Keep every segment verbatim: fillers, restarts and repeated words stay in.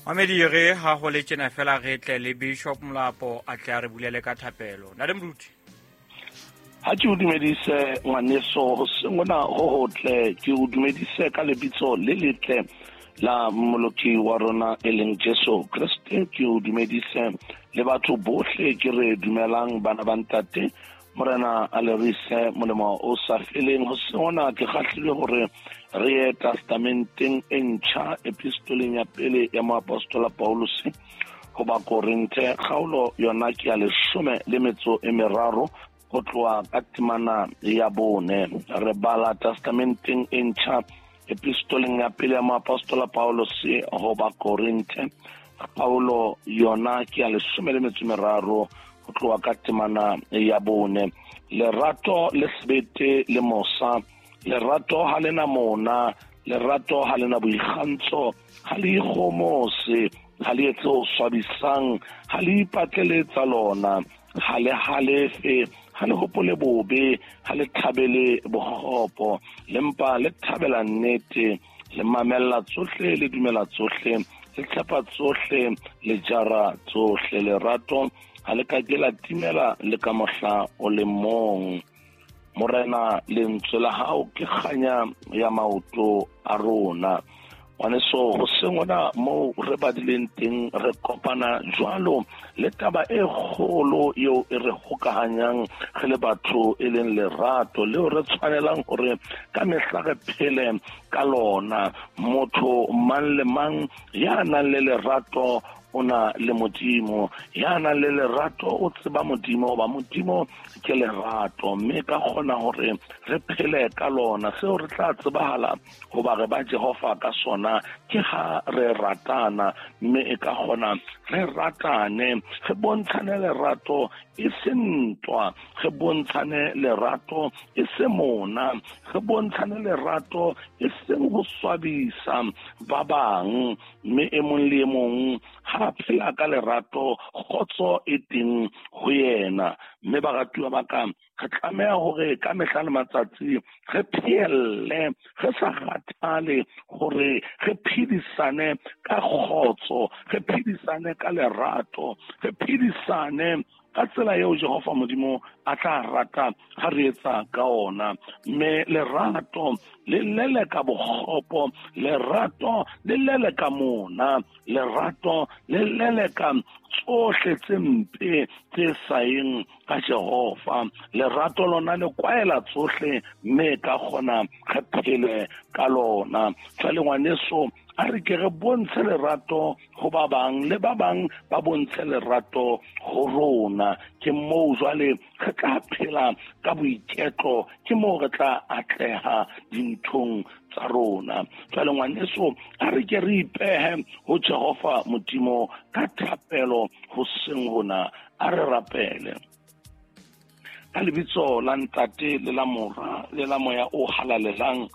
Mamedi re ha ho le tjena fela re tle le Bishop Molapo a tle a re bulele ka thapelo. Ntate Moruti. Ha ke o dumedise ngwaneso, hoseng hona ho hotle, ke o dumedise ka lebitso le letle la Mmoloki wa rona e leng Jesu Kreste. Ke o dumedise le batho bohle ke re dumelang bana ba ntate. Morena a le rise molemo o sa feleng. Hoseng hona ke kgahlilwe hore re ye testamenteng e ntjha, epistoleng ya pele ya moapostola Paulus ho Bakorinthe, kgaolo yona ke ya leshome le metso e meraro ho tloha ka temana ya bone. Re bala testamenteng e ntjha, epistoleng ya pele ya moapostola Paulus ho Bakorinthe, kgaolo yona ke ya leshome le metso e meraro ho tloha ka temana ya bone. Lerato le sebete le mosa, lerato ha lena mona, lerato ha lena boikgantsho, ha le ikgomose, ha le etse ho swabisang, ha le ipatlele tsa lona, ha le halefe, ha le hopole bobe, ha le thabele bokgopo, le mpa le thabela nnete, le mamella tsohle, le dumela tsohle, le tshepa tsohle, le jara tsohle. Lerato ha le ka ke la timela le ka mohla o le mong. Morena, lentswe la hao ke kganya ya maoto a rona. Ngwaneso, hoseng hona moo re badileng teng, re kopana jwalo le taba e kgolo eo e re hokahanyang re le batho, e leng lerato leo re tshwanelang hore ka mehla re phele ka lona. Motho mang le mang ya nang le lerato o na le Modimo, ya nang le lerato o tseba Modimo, hoba Modimo ke lerato, mme ka kgona hore re phele ka lona. Seo re tla tsebahala hoba re ba Jehova ka sona ke ha re ratana, mme e ka kgona re ratane, re bontshane lerato e se ntwa, re bontshane lerato e se mona, re bontshane lerato e seng ho swabisa ba bang. Mme e mong le e mong ha phela ka lerato, kgotso e teng ho yena. Mme baratuwa ba ka, re tlameha hore ka mehla le matsatsi re phehelle, re sa kgathale hore re phedisane ka kgotso, re phedisane ka lerato, re phedisane ka tsela eo Jehova Modimo a tla rata ha re etsa ka ona. Mme lerato le leleka bokgopo, lerato le leleka mona, lerato le leleka tsohle tse mpe tse sa yeng ka Jehova. Lerato lona le kwaela tsohle, mme ka kgona re phele ka lona. Jwale ngwaneso, a re ke re bontshe lerato ho ba bang, le ba bang ba bontshe lerato ho rona. Ke moo jwale re tla phela ka boiketlo, ke moo re tla atleha dinthong tsa rona. Jwale ngwaneso, a re ke re ipehe ho Jehova Modimo ka thapelo hoseng hona. A re rapele. Ka lebitso la Ntate le la Mora le la Moya o Halalelang,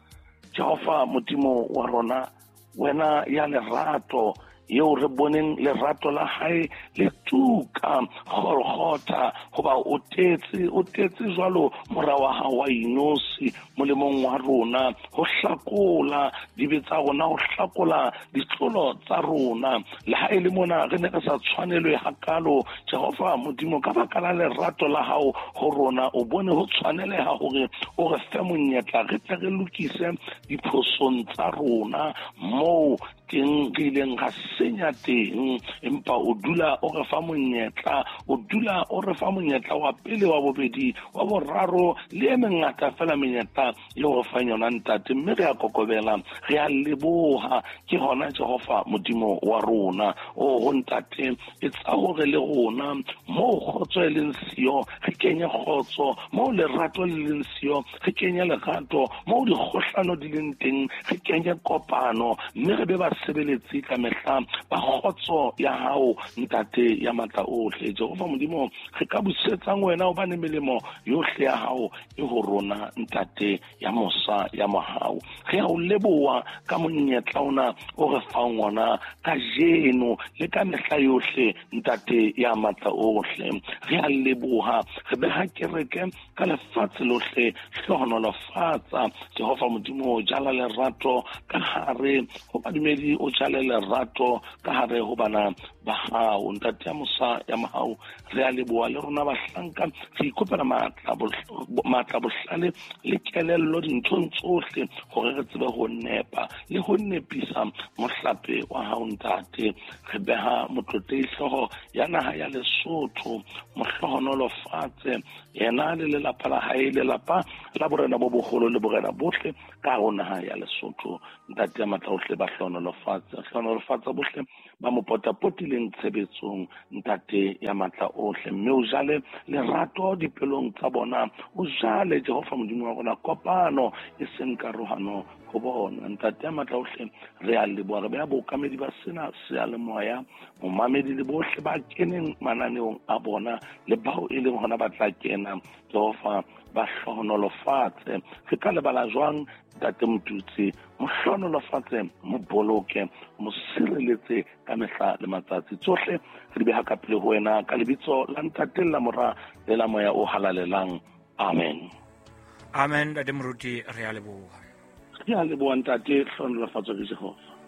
Jehova Modimo wa rona, wena ya lerato, eo re boneng lerato la hae le tuka Golgotha, hoba o tetse, o tetse jwalo mora wa hao wa inosi molemong wa rona, ho hlakola dibe tsa rona, ho hlakola ditlolo tsa rona. Le ha e le mona re ne re sa tshwanelwe hakalo, Jehova Modimo, ka baka la lerato la hao ho rona, o bone ho tshwaneleha hore o re fe monyetla re tle re lokise diphosong tsa rona moo teng re ileng ra senya teng. Empa o dula o re fa monyetla, o dula o re fa monyetla wa pele, wa bobedi, wa boraro, le e mengata fela menyetla eo re fang yona Ntate. Mme re a kokobela, re a leboha. Ke hona Jehova Modimo wa rona. O ho Ntate, etsa hore le rona moo kgotso e leng siyo re kenye kgotso, moo lerato le leng siyo re kenye lerato, moo dikgohlano di leng teng re kenye kopano, mme re be ba sebeletsi ka mehla ba kgotso ya hao Ntate ya matla ohle. Jehova Modimo, re ka busetsang wena, hobane melemo yohle ya hao e ho rona Ntate ya mosa ya mohau. Re a o leboha ka monyetla ona o re fang ona kajeno le ka mehla yohle Ntate ya matla ohle. Re a leboha, re beha kereke ka lefatshe lohle, hlohonolofatsa Jehova Modimo, jala lerato ka hare ho badumedi lesedi, o jale lerato ka hare ho bana ba hao. Ntate ya mosa ya mohau, re a leboha le rona bahlanka, re ikopela matla matla bohlale le kelello dinthong tsohle hore re tsebe ho nepa le ho nepisa mohlape wa hao ntate. Re beha motlotlehi hlooho ya naha ya Lesotho, mohlohonolofatse yena le lelapa la hae, lelapa la borena bo boholo le borena bohle ka hare ho naha ya Lesotho. Ntate ya matla ohle, ba hlohonolofatse, hlohonolofatsa bohle ba mo potapotileng tshebetsong, ntate ya matla ohle. Mme o jale lerato dipelong tsa bona, o jale Jehova Modimo wa rona kopano e seng karohano ho bona. Ntate ya matla ohle, re a leboha, re beha bookamedi ba sena seyalemoya, momamedi le bohle ba keneng mananeong a bona le bao e leng hona ba tla kena, Jehova ba hlohonolofatse. Re ka lebala jwang ntate Motutsi? Mo hlohonolofatse, mo boloke, mo sireletse ka mehla le matsatsi. Tsohle re di beha ka pele ho wena ka lebitso la Ntate le la Mora le la Moya o Halalelang. Amen. Amen. Ntate Moruti, re a leboha. Re a leboha ntate, hlohonolofatswe ke Jehova.